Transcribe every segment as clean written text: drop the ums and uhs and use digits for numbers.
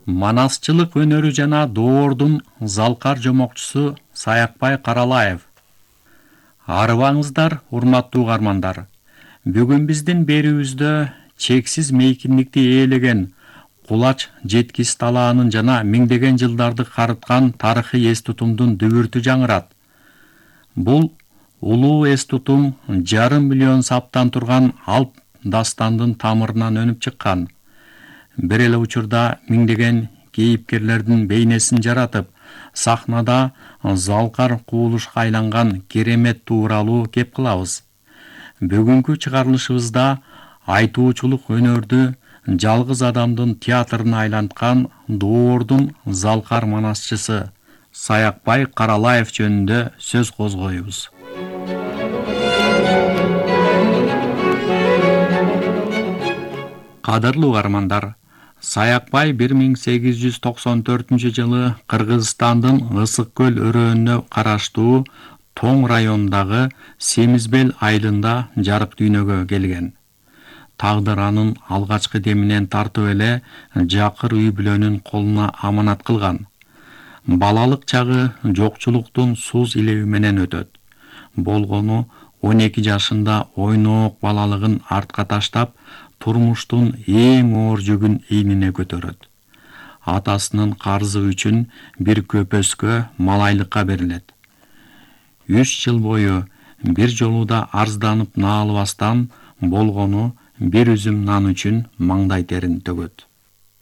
Манасчылык өнөрү жана доордун залкар жомокчусу Саякбай Каралаев. Арыбаңыздар, урматтуу угармандар. Бүгүн биздин берүүбүздө чексиз мейкиндикти ээлеген Кулач жеткис талаанын жана миңдеген жылдарды карыткан тарыхый эс тутумдун дүбүртү жаңырат. Бул улуу эс тутум жарым миллион саптан турган алп дастандын тамырынан өнүп чыккан. Бир эле учурда миңдеген кейипкерлердин бейнесин жаратып, сахнада залкар кубулушка айланган керемет тууралуу кеп кылабыз. Бүгүнкү чыгарылышыбызда айтуучулук өнөрдү жалгыз адамдын театрына айланткан доордун залкар манасчысы Саякбай Каралаев жөнүндө сөз козгойбуз. Кадырлуу угармандар, Саякбай 1894-жылы Кыргызстандын Ысык көл өрөөнүнө караштуу Тоң районундагы Семизбел айылында жарык дүйнөгө келген. Тагдыр анын алгачкы деминен тартып эле жакыр үй бүлөнүн колуна аманат кылган. Балалык чагы жокчулуктун сууз илеби менен өтөт. Болгону 12 жашында ойноок балалыгын артка таштап, турмуштун эң оор жүгүн ийнине көтөрөт. Атасынын карзы үчүн бир көпөскө малайлыкка берилет. 3 жыл бою бир жолу да арызданып наалыбастан, болгону бир үзүм нан үчүн маңдай терин төгөт.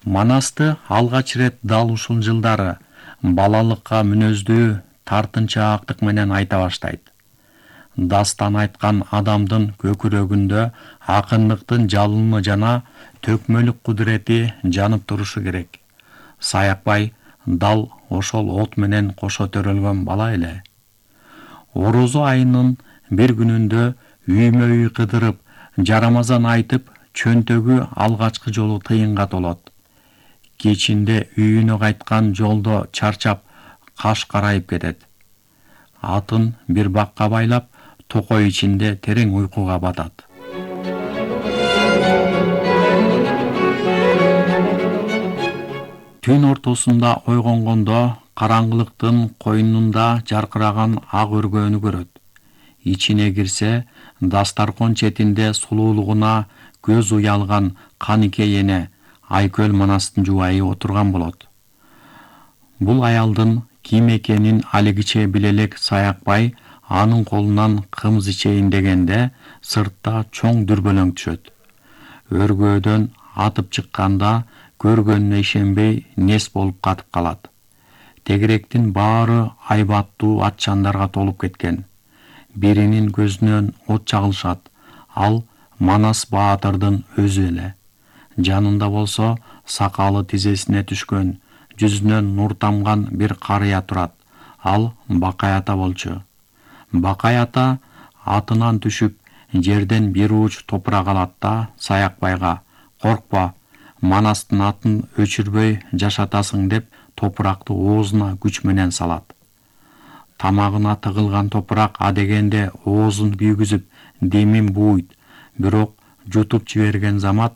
Манасты алгач ирет дал ушул жылдары балалыкка мүнөздүү тартынчаактык менен айта баштайт. Дастан айткан адамдын көкүрөгүндө акындыктын жалыны жана төкмөлүк кудурети жанып турушу керек. Саякбай дал ошол от менен кошо төрөлгөн бала эле. Орозо айынын бир күнүндө үймө үй кыдырып, жарамазан айтып, чөнтөгү алгачкы жолу тыйынга толот. Кечинде үйүнө кайткан жолдо чарчап, каш карайып кетет. Атын бир бакка байлап, токой ичинде терең уйкуга батат. Түн ортосунда ойгонгондо караңгылыктын койнунда жаркыраган ак өргөнү көрөт. Ичине кирсе, дастаркон четинде сулуулугуна көз уялган Канике эне Айкөл Манастын жубайы отурган болот. Бул аялдын ким экенин алигиче биле элек Саякбай анын колунан кымыз ичейин дегенде сыртта чоң дүрбөлөң түшөт. Өргөөдөн атып чыкканда көргөнүнө ишенбей нес болуп катып калат. Тегеректин баары айбаттуу атчандарга толуп кеткен. Биринин көзүнөн от чагылышат. Ал Манас баатырдын өзү эле. Жанында болсо сакалы тизесине түшкөн, жүзүнөн нур тамган бир карыя турат. Ал Бакай ата болчу. Бакай ата атынан түшүп, жерден бир ууч топурак алат да Саякбайга: "Коркпа, Манастын атын өчүрбөй жашатасың" деп топуракты оозуна күч менен салат. Тамагына тыгылган топурак адегенде оозун күйгүзүп, демин бууйт, бирок жутуп жиберген замат